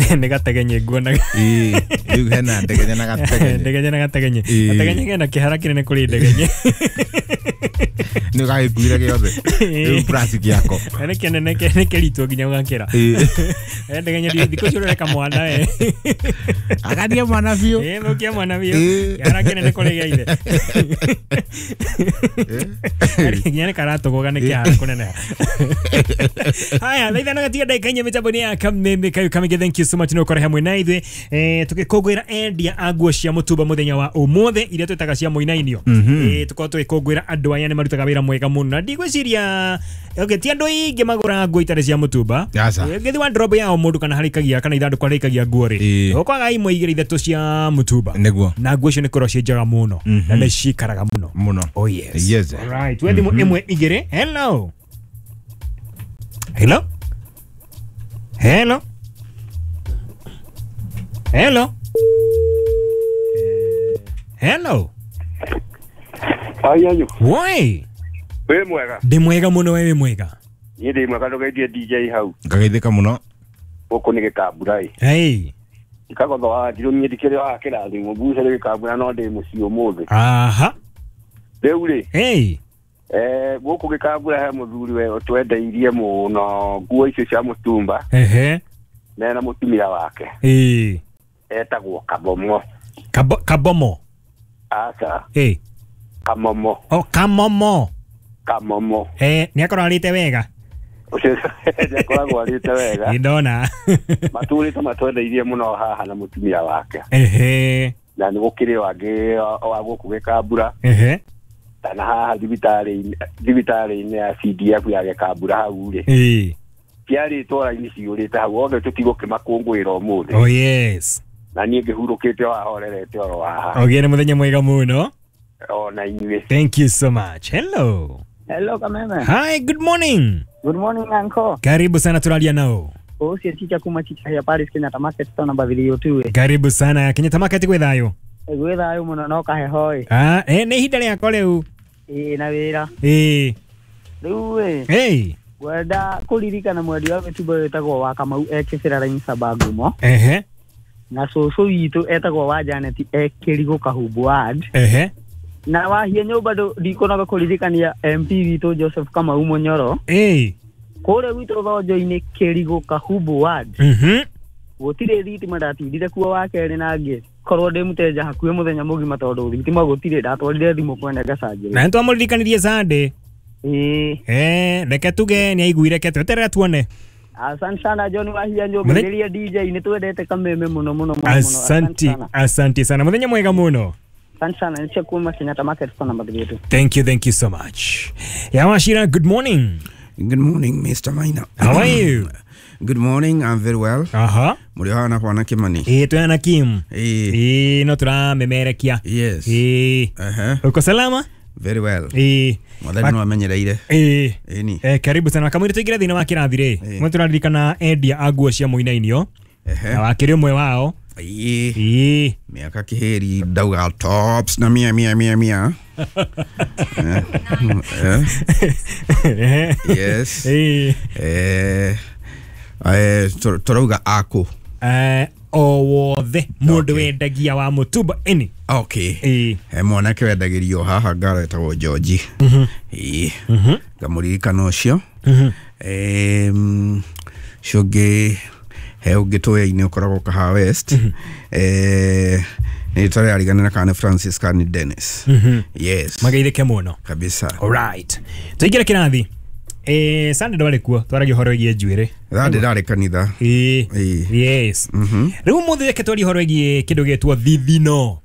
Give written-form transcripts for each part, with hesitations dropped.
Nĩ gategenye nguonaga. Ĩĩ, rĩu hena ndegenye na gategenye. Ndegenye na gategenye. Ĩĩ. Gategenye kena kĩhara kĩnene kũrĩ ndegenye. Nĩ gagĩkuire gĩothe. Rĩu plastic yako. Nĩ kĩnene nĩ kĩritũ nginya ũgakĩra. Ĩĩ. Ndegenye thikũ icio ũreka mwana we. Agathie mwana biũ. Ĩĩ, thũkia mwana biũ. Ĩĩ. Kĩhara kĩnene kũrĩ gĩa ithe. Nginya nĩ karatũgũga nĩ kĩhara kũneneha. Haya, thaa ithano gatiga ndagĩka inya mĩtambo-inĩ ya Kameme Kayu Kamige, thank you so much nĩ gũkorwo hamwe na ithuĩ. Tũgĩkũngũĩra endia a nguo cia mũtumba mũthenya wa ũmũthĩ iria twĩtaga cia mũinainio. Tũkorwo tũgĩkũngũĩra andũ aya nĩ marutaga wĩra mwega mũno na ndigwĩciria okay, ti andũ aingĩ magũraga nguo itarĩ cia mũtumba. Aca. Ũngĩthiĩ wardrobe ya o mũndũ kana harĩkagia kana ithandũkũ harĩkagia nguo rĩ, Ĩĩ. ũkwaga imwe igĩrĩ ithatũ cia mũtumba Nĩguo. na nguo icio nĩ korwo ciĩ njega mũno na nĩ cikaraga mũno. Mũno. Oh yes. Yes. All right. Tuwe thimũ ĩmwe igĩrĩ. Hello. Hello. Hello. Hello. Hello. Ayanyu. Woi. Wĩ mwega. Ndĩ mwega mũno, we wĩ mwega. Niĩ ndĩ mwega, ndũgeithie DJ hau. Ngageithĩka mũno. Gũkũ nĩ gĩkambura ĩ. Hey. Ndikagotho wa ndirũmie ndikĩrĩ wa kĩrathimo mbuce nĩ gĩkambura no ndĩ mũciĩ ũmũthĩ. Aha. Rĩu rĩ, Hey. gũkũ gĩkambura he mũthuri we ũtwendeirie mũno nguo icio cia mũtumba Ehe. mena mũtumia wake Eh. etagwo Kabomo. Kabomo. Aca, Eh. Kamomo. Oh, Kamomo. Kamomo. Nĩ akorwo arĩte wega. Ũcio nĩ akoragwo arĩte wega. Nĩ ndona. Matũrĩte matwendeirie mũno haha na mũtumia wake. Ehe. Na nĩ gũkĩrĩ o angĩ wa gũkũ gĩkambura Ehe. kana haha thibitarĩ-inĩ ya CDF ya gĩkambura hau rĩ, Eh. ciarĩtwo raini ciyũrĩte hau othe tũtigũkĩmakũngũĩra ũmũthĩ. Oh yes. Na niĩ ngĩhurũkĩte o hahorerete oro haha. Ogere muthenya mwega muno. Ona inyuĩ. Thank you so much. Hello. Hello Kameme. Hi, good morning. Good morning uncle. Karibu sana turalia nao. Ũcio chicha kuma chicha ya Paris Kenyatta Market town number 302. Karibu sana Kenyatta Market gwĩ thayũ. Gwĩ thayũ mũno no kaheho ĩ. Ah, nĩ ihinda rĩakwa rĩu. Ĩ na wĩra. Ĩ. Rĩu ĩ. Hey. Ngwenda kũririkana mwendia wa mĩtumba wĩtagwo wa Kamau e Kĩbĩra Line Sabangumo. Ehe. Na cũcũ witũ etagwo wa Janet e Kĩrigũ Kahumbu Ward. Ehe. Na wahia nyũmba ndikũnoga kũririkania MP witũ Joseph Kamau Mũnyoro. Ĩ. Kũrĩa gwitũ Thonjo-inĩ Kĩrigũ Kahumbu Ward. Mhm. Gũtirĩ thitima, ndatindire kuo wa kerĩ na ngĩ korwo ndĩ mũteja hakuhĩ mũthenya mũgima tondũ thitima gũtirĩ, ndatwarire thimũ kwene ngacanjĩrwo. Na nĩtwamũririkanirie Sunday. Ĩĩ. Reke tuge nĩ aiguire, reke tweterere tuone. Asante sana John Wahia Njũngĩrĩria DJ, nĩ twendete Kameme mũno mũno mũno. Asante, asante sana. Mũthenya mwega mũno. Asante sana, nĩ kuma Kenyatta Market kwa namba 3. Thank you, thank you so much. Yawashira, good morning. Good morning, Mr. Maina. How are you? Good morning, I'm very well. Aha. Mũrĩ haha na Kimani. Ĩĩ, twĩna Kim. Ĩĩ. Ĩĩ, no tũramemerekia. Yes. Ĩĩ. Uko salama? Very well. Ĩĩ. Mwathani no amenyereire. Ĩĩ. Ĩni. Karibu sana. Kamwĩrĩ tũingĩre thĩinĩ wa kĩrathi rĩ. Mwe tũraririkana endia a nguo cia mũinainio. Na wakĩrĩ ũmwe wao. Ĩĩ. Ĩĩ. Mĩaka kĩhĩri ndauga tops na mia mia mia mia. Yes. Ĩĩ. Tũrauga akũ. O wothe mũndũ wendagia wa mũtumba ĩni. Okay. He mwanake wendagĩrio haha ngara etagwo George. Ĩĩ. Ngamũririkana ũcio. Ũcio ũngĩ he ũngĩ tũya-inĩ ũkoragwo Kahawa West. Nĩ tũrariganĩra kana nĩ Francis kana nĩ Dennis. Yes. Mageithĩke mũno. Kabisa. Alright. Tũingĩre kĩrathi. Sunday ndwarĩ kuo, twaragia ũhoro wĩgiĩ njuĩrĩ. Sunday ndarĩ kanitha. Ĩĩ. Yes. Rĩu ũmũthĩ reke twarie ũhoro wĩgiĩ kĩndũ gĩtwo thithino.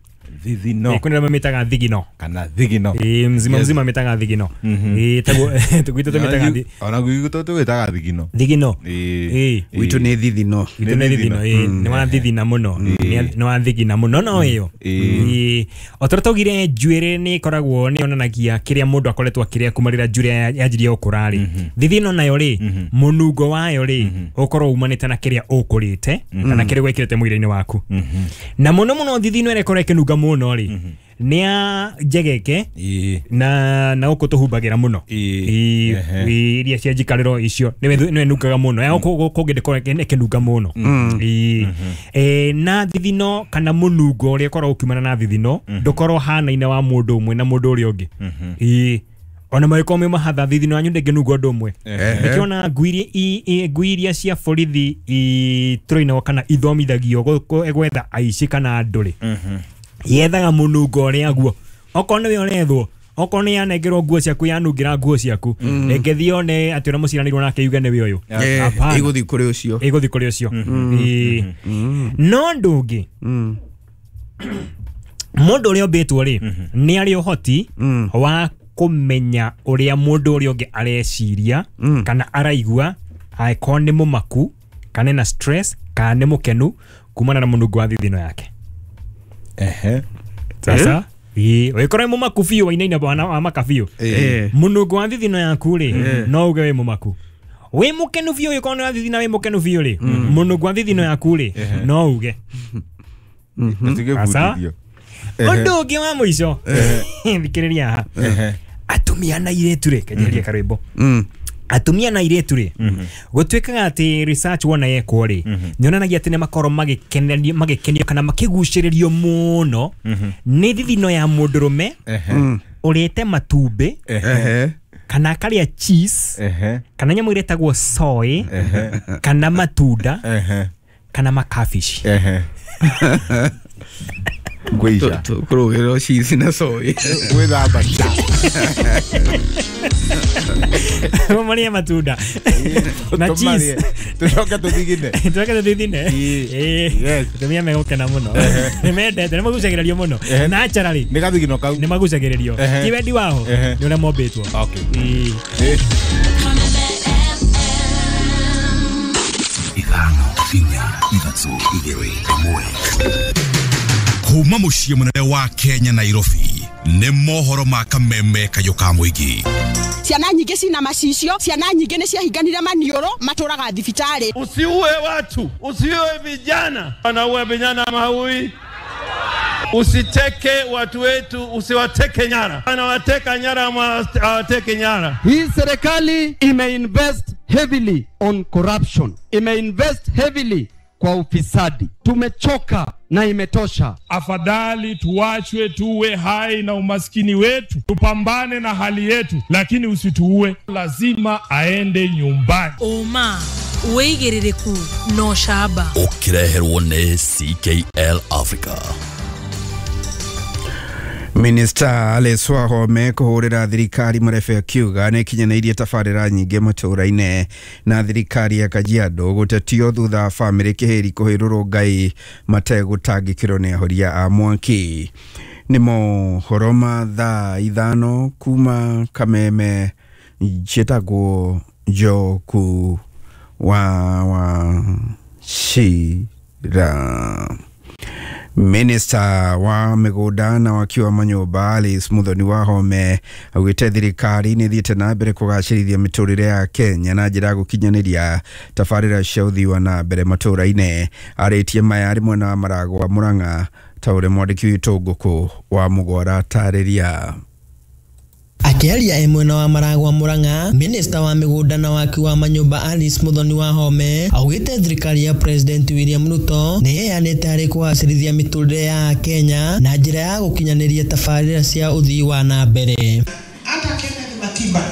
Thithino. Kwĩna arĩa mamĩtaga thigino. Kana thigino. Ĩĩ, mzima mzima mĩtaga thigino. Ĩĩ, taguo gwitũ tũmĩtaga Ona gwitũ tũgĩtaga thigino. Thigino. Ĩĩ. Gwitũ nĩ thithino. Gwitũ nĩ thithino. Ĩĩ, nĩ wathithina mũno. Nĩ wathigina mũno no ĩyo. Ĩĩ. O ta ũrĩa twaugire njuĩrĩ nĩ ĩkoragwo nĩ yonanagia kĩrĩa mũndũ akoretwo akĩrĩa kuma rĩrĩa njuĩrĩ yanjirie gũkũra rĩ. Thithino nayo rĩ, mũnungo wayo rĩ, ũkorwo umanĩte na kĩrĩa ũkũrĩte kana kĩrĩa wĩkĩrĩte mwĩrĩ-inĩ waku. Na mũno mũno thithino ĩrĩa ĩkoragwo ĩkĩnunga mũno rĩ, Nĩ ya njegeke na gũkũ tũhumbagĩra mũno. Iria cia njikarĩro icio nĩwe nungaga mũno. Ya gũkũ kũngĩ ndĩkoragwo ĩkĩnunga mũno. Na thithino kana mũnungo ũrĩa ũkoragwo ũkiumana na thithino ndũkorwo hanaine wa mũndũ ũmwe na mũndũ ũrĩa ũngĩ. Ona magĩkorwo me mahatha thithino yanyu ndĩngĩnunga ũndũ ũmwe. Nĩkĩo ngui iria cia borithi itũrainagwo kana ithomithagio gwetha aici kana andũ rĩ, yethaga mũnungo ũrĩa guo. Okorwo nĩwe ũrethwo, okorwo nĩ yanengerwo nguo ciaku yanungĩra nguo ciaku, rĩngĩ thiĩ one atĩ ũrĩa mũciaranĩirwo nake yuge nĩwe ũyũ. Ĩgũthiĩ kũrĩ ũcio. Ĩgũthiĩ kũrĩ ũcio. No ũndũ ũngĩ, mũndũ ũrĩa ũmbĩtwo rĩ, nĩ arĩ ũhoti wa kũmenya ũrĩa mũndũ ũrĩa ũngĩ areciria kana araigua, angĩkorwo nĩ mũmaku kana ena stress kana nĩ mũkenu kumana na mũnungo wa thithino yake. Sasa wĩkorwo wĩ mũmaku biũ wainaina wa maka biũ, mũnungo wa thithino yaku rĩ no uge wĩ mũmaku. Wĩ mũkenu biũ wĩkorwo nĩ wa thithina wĩ mũkenu biũ rĩ, mũnungo wa thithino yaku rĩ no uge. Sasa ũndũ ũngĩ wa mũico, thikĩrĩria haha. Atumia na airĩtu rĩ, kenyeria karwĩmbo. Atumia na airĩtu rĩ, gũtuĩkaga atĩ research wona yekwo rĩ, nĩyonanagia atĩ nĩmakorwo magĩkenio kana makĩgucĩrĩrio mũno nĩ thithino ya mũndũrũme ũrĩte matumbĩ kana akarĩa cheese kana nyamũ ĩrĩa ĩtagwo soy kana matunda kana makabici. Ngwĩica. Tũkũrũgĩrĩrwo cheese na soy. Gwĩthamba. Marĩe matunda na cheese. Tũcoke tũthigine. Tũcoke tũthithine. Atumia megũkena mũno. Nĩmendete, nĩmagucagĩrĩrio mũno. Naturally. Nĩ gathigino kau. Nĩmagucagĩrĩrio. Ti wendi wao, nĩ ũrĩa mombĩtwo. Ithano, inya, ithatũ, igĩrĩ, ĩmwe. Kuma mũciĩ mũnene wa Kenya Nairobi nĩ mohoro ma kameme kayũ ka mũingĩ. Ciana nyingĩ cina macicio, ciana nyingĩ nĩ ciahinganire maniũrũ, matũraga thibitarĩ. Usiue watu, usiue vijana. Wanaua vijana maui. Usiteke watu wetu, usiwateke nyara. Wanawateka nyara ama hawateke nyara. Hii serikali imeinvest heavily on corruption. Imeinvest heavily kwa ufisadi. Tumechoka na imetosha. Afadhali tuachwe tuwe hai na umaskini wetu, tupambane na hali yetu, lakini usituue. Lazima aende nyumbani. Oma wĩigĩrĩrĩku no shaba. Ũkĩreherwo nĩ CKL Africa. Minister Alice Wahome kũhũrĩra thirikari marebe akiuga nĩ ĩkinyanĩirie tabarĩra nyingĩ matũũra-inĩ na thirikari ya Kajiado gũtetio thutha wa bamĩrĩ Kĩhĩri kũhĩrũrwo Ngai mategũtangĩkĩrwo nĩ ahoria a mwaki. Nĩ mohoro ma thaa 5 kuma Kameme. Njĩtagwo Njoku wa Wachira. Minister wa mĩgũnda na waki wa manyũmba Alice Muthoni Wahome augĩte thirikari nĩ ĩthiĩte na mbere kũgacĩrithia mĩtũrĩre ya Kenya na njĩra ya gũkinyanĩria tabarĩra cia ũthii wa na mbere matũũra-inĩ. Arĩtie maya arĩ mwena wa Maragwa Murang'a ta ũrĩa mwandĩki witũ Ngũkũ wa Mũgwara atarĩria. Akĩaria e mwena wa Maragwa Murang'a, Minister wa mĩgũnda na waki wa manyũmba Alice Muthoni Wahome augĩte thirikari ya President William Ruto nĩ ĩheanĩte harĩ kũgacĩrithia mĩtũrĩre ya Kenya na njĩra ya gũkinyanĩria tabarĩra cia ũthii wa na mbere. Hata Kenneth Matiba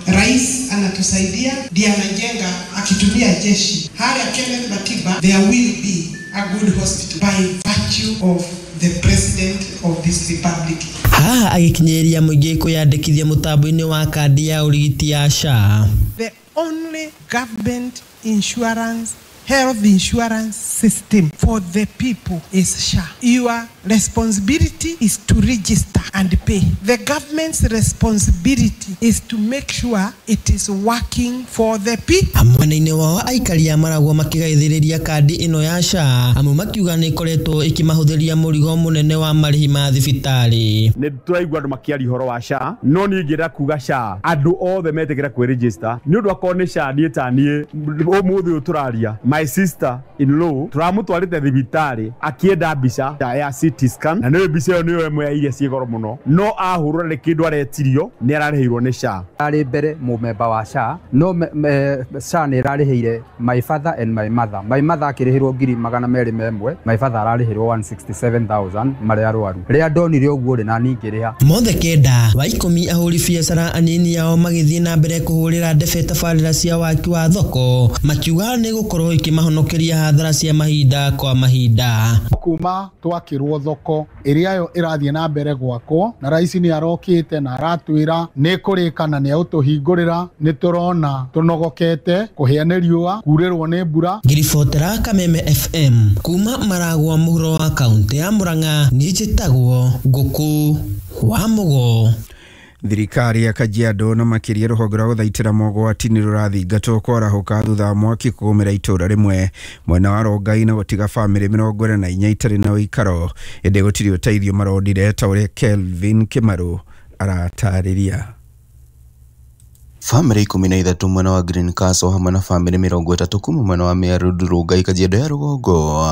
rais anatusaidia, ndiye anajenga akitumia jeshi. Haya Kenneth Matiba, there will be a good hospital by virtue of the president of this republic. Haha agĩkinyĩria mũingĩ kwĩyandĩkithia mũtambo-inĩ wa kandi ya ũrigiti ya SHA. The only government insurance, health insurance system for the people is SHA. Your responsibility is to register and pay. The government's responsibility is to make sure it is working for the people. Mwena-inĩ wao aikari a Maragwa makĩgaithĩrĩria kandi ĩno ya SHA, amwe makiuga nĩ ĩkoretwo ĩkĩmahũthĩria mũrigo mũnene wa marĩhi ma thibitarĩ. Nĩ tũraigua andũ makĩaria ũhoro wa SHA, no niĩ ingĩenda kuga SHA andũ othe metĩkĩra kwĩregister nĩ ũndũ akorwo nĩ SHA niĩ ta niĩ ũmũthĩ ũyũ tũraria, my My sister in law turamutwarite thibitari akienda mbica ya CT scan na nĩyo mbica ĩyo nĩyo ĩmwe ya iria ciĩ goro mũno no ahũrũra nĩ kĩndũ aretirio nĩ ararĩhĩirwo nĩ SHA. Arĩ mbere mũmemba wa SHA no SHA nĩ ĩrarĩhĩire my father and my mother. My mother akĩrĩhĩrwo 201,000, my father ararĩhĩrwo 167,000 marĩ arwaru. Rĩrĩa ndonire ũguo rĩ na niĩ ngĩrĩha. Mothe kenda wa 10 ahũri biacara anini ao magĩthiĩ na mbere kũhũrĩra ndebe tabarĩra cia waki wa thoko makiuga nĩ gũkorwo ikimahonokeria hathara cia mahinda kwa mahinda. Kuma twakĩrwo thoko ĩrĩa yo ĩrathiĩ na mbere gwakwo na rais nĩ arokĩte na aratwĩra nĩ kũrĩka na nĩ egũtũhingũrĩra, nĩ tũrona tũnogokete kũhĩa nĩ riũa kurĩrwo nĩ mbura. Ngiribotera Kameme FM kuma Maragwa mũhuro wa kaunti ya Murang'a, niĩ njĩtagwo Ngũkũ wa Mũgo. Thirikari ya Kajiado na makĩria rũhonge rwa gũthaitĩra mogwati nĩ rũrathingatwo kwarahũka thutha wa mwaki kũgũmĩra itũũra rĩmwe mwena wa Rongai na gũtiga bamĩrĩ 44 itarĩ na ũikaro, ĩndĩ gũtirĩ ũteithio maronire ta ũrĩa Kelvin Kĩmarũ aratarĩria. Bamĩrĩ 13 mwena wa Green Castle hamwe na bamĩrĩ 30 kuma mwena wa Meru Rongai Kajiado ya rũgongo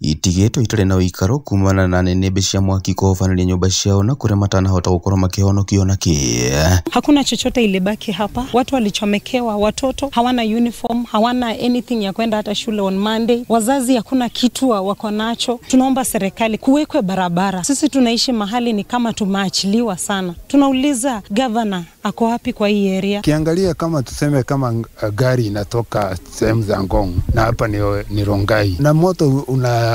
itigĩtwo itarĩ na ũikaro kumana na nĩnĩmbĩ cia mwaki kũhobanĩria nyũmba ciao na kũrĩa matanahota gũkorwo makĩhonokio na kĩ. Hakuna chochote ilibaki hapa, watu walichomekewa, watoto hawana uniform, hawana anything ya kwenda hata shule on Monday, wazazi hakuna kitu wako nacho. Tunaomba serikali kuwekwe barabara. Sisi tunaishi mahali ni kama tumeachiliwa sana. Tunauliza governor ako wapi kwa hii area? Kiangalia kama tuseme kama gari inatoka sehemu za Ngong na hapa ni Rongai na moto una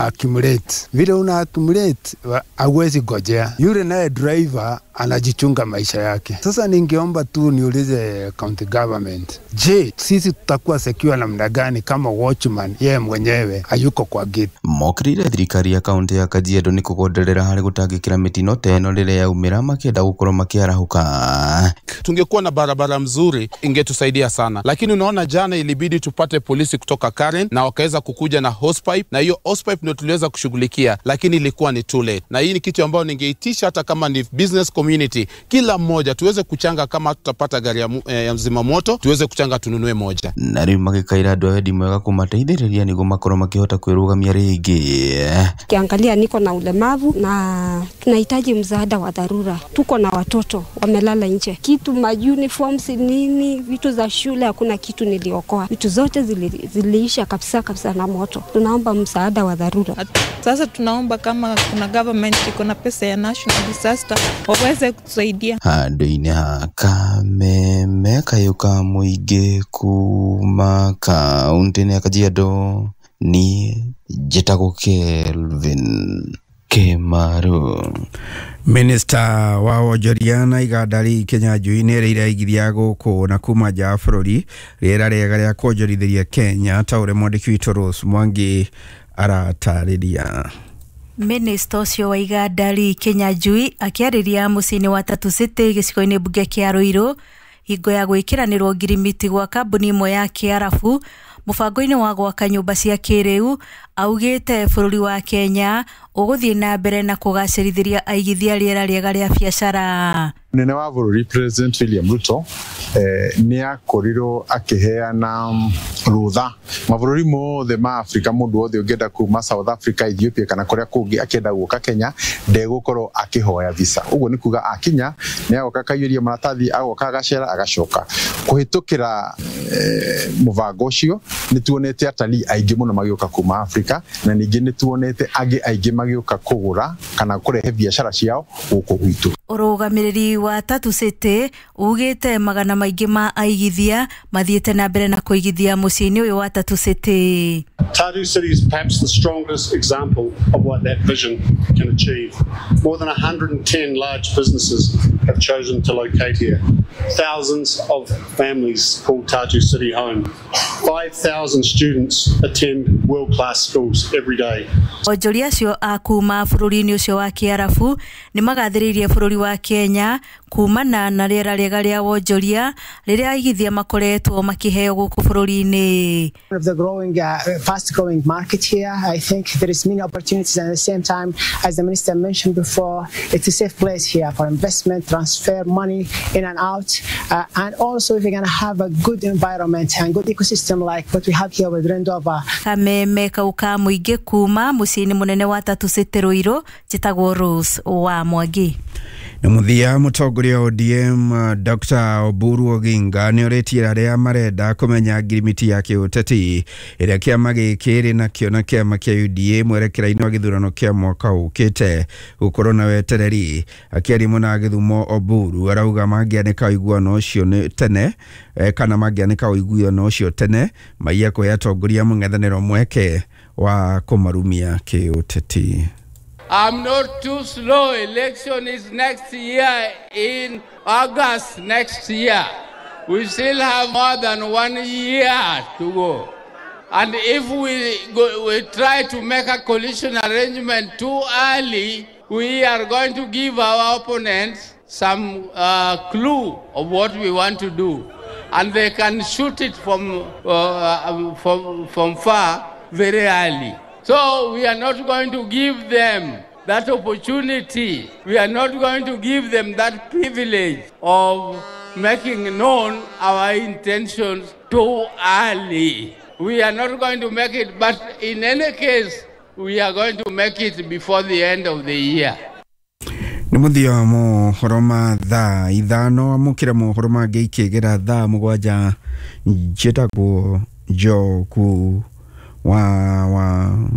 accumulate, vile una accumulate hauwezi gojea, yule naye driver anajichunga maisha yake. Sasa ningeomba tu niulize county government, je, sisi tutakuwa secure namna gani kama watchman yeye mwenyewe hayuko kwa gate? Mokirire thirikari ya kaunti ya Kajiado ni kugonderera harĩ gũtangĩkĩra mĩtino ta ĩno rĩrĩa yaumĩra makĩenda gũkorwo makĩarahũka. Tungekuwa na barabara mzuri ingetusaidia sana, lakini unaona jana ilibidi tupate polisi kutoka Karen na wakaweza kukuja na hosepipe, na hiyo hosepipe ndio tuliweza kushughulikia, lakini ilikuwa ni too late. Na hii ni kitu ambayo ningeitisha hata kama ni business community, kila mmoja tuweze kuchanga, kama tutapata gari ya mzima moto tuweze kuchanga tununue moja. Na rĩu magĩkaira andũ a wendi mwega kũmateithĩrĩria nĩguo makorwo makĩhota kwĩrũgamia rĩngĩ. Kiangalia niko na ulemavu na tunahitaji msaada wa dharura. Tuko na watoto wamelala nje, kitu ma uniforms nini, vitu za shule, hakuna kitu niliokoa. Vitu zote ziliisha kabisa kabisa na moto. Tunaomba msaada wa dharura. Sasa tunaomba kama kuna government iko na pesa ya national disaster waweze kutusaidia. Handũ-inĩ ha Kameme kayũ ka mũingĩ kuma kaunti-inĩ ya Kajiado, niĩ njĩtagwo Kelvin Kĩmarũ. Minista wa wonjoria na iganda Lee Kinyanjui nĩ erĩire aigithia gũkũ na kuma nja wa bũrũri rĩera rĩega rĩa kuonjorithĩria Kenya ta ũrĩa mwandĩki witũ Rose Mwangi aratarĩria. Minista ũcio wa iganda Lee Kinyanjui akĩarĩria mũciĩ-inĩ wa Tatu City gĩcigo-inĩ mbunge kĩa Ruiru hingo ya gwĩkĩranĩrwo ngirimiti gwa kambuni ĩmwe ya Kĩarabu mũbango-inĩ wa gwaka nyũmba cia kĩrĩu, augĩte bũrũri wa Kenya ũgũthiĩ na mbere na kũgacĩrithĩria aigithia rĩera rĩega rĩa biacara. Munene wa bũrũri President William Ruto nĩ akorirwo akĩheana rũtha mabũrũri mothe ma Afrika, mũndũ wothe ũngĩenda kuma South Africa, Ethiopia kana kũrĩa kũngĩ akĩenda gũka Kenya ndegũkorwo akĩhoya visa. Ũguo nĩ kuga akinya nĩ agoka akaiyũria maratathi, agoka agacera agacoka. Kũhĩtũkĩra mũbango ũcio nĩ tuonete atalii aingĩ mũno magĩũka kuma Afrika, na ningĩ nĩ tuonete angĩ aingĩ magĩũka kũgũra kana kũrehe biacara ciao gũkũ gwitũ. Ũrũgamĩrĩri wa Tatu City ugĩte magana maingĩ ma aigithia mathiĩte na mbere na kũigithia mũciĩ-inĩ ũyũ wa Tatu City. Tatu City is perhaps the strongest example of what that vision can achieve. More than 110 large businesses have chosen to locate here. Thousands of families call Tatu City home. 5,000 students attend world-class schools every day. Onjoria acio a kuma bũrũri-inĩ ũcio wa Kĩarabu nĩ magathĩrĩirie bũrũri wa Kenya kumana na rĩera rĩega rĩa wonjoria rĩrĩa aigithia makoretwo makĩheo gũkũ bũrũri-inĩ. Of the growing, fast growing market here, I think there is many opportunities, and at the same time, as the minister mentioned before, it's a safe place here for investment, transfer money in and out, and also if you're going to have a good environment and good ecosystem like what we have here with Rendova. Kameme kau ka mũingĩ kuma mũciĩ-inĩ mũnene wa Tatu City Ruiru, njĩtagwo Rose wa Mwangi. Na mũthia, mũtongoria wa ODM Dr. Oburu Oginga nĩ orĩtie arĩa marenda kũmenya ngirimiti ya kĩũteti ĩrĩa kĩama gĩkĩ ĩrĩ nakĩo na kĩama kĩa UDA mwerekera-inĩ wa gĩthurano kĩa mwaka ũkĩte gũkorwo na wetereri. Akĩaria mwena wa Gĩthumo, Oburu arauga mangĩanĩka ũiguano ũcio nĩ tene kana mangĩanĩka ũiguano ũcio tene maiya kũhe atongoria mũng'ethanĩro mweke wa kũmarumia kĩũteti. I'm not too slow. Election is next year in August next year. We still have more than 1 year to go. And if we try to make a coalition arrangement too early, we are going to give our opponents some clue of what we want to do. And they can shoot it from far very early. So we are not going to give them that opportunity. We are not going to give them that privilege of making known our intentions too early. We are not going to make it, but in any case, we are going to make it before the end of the year. Nĩ mũthia wa mohoro ma thaa 5, amũkĩra mohoro mangĩ ikĩgera thaa 7. Njĩtagwo Njoku wa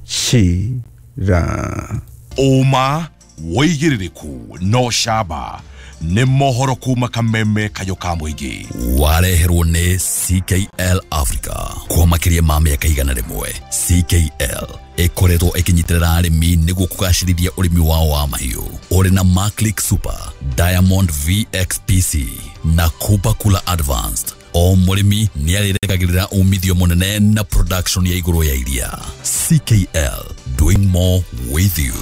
Chira. Ũma wĩigĩrĩrĩku no camba nĩ mohoro kuma kameme kayo ka mũingĩ wareherwo nĩ CKL Africa kwa makĩria ma mĩaka 100. CKL ĩkoretwo ĩkĩnyitĩrĩra arĩmi nĩguo kũgacĩrithia ũrĩmi wao wa mahiũ ũrĩ na Maclick Super, Diamond VXPC na Kupa Kula Advanced. O mũrĩmi nĩ arĩrekagĩrĩra umithio mũnene na production ya igũrũ ya iria. CKL, doing more with you.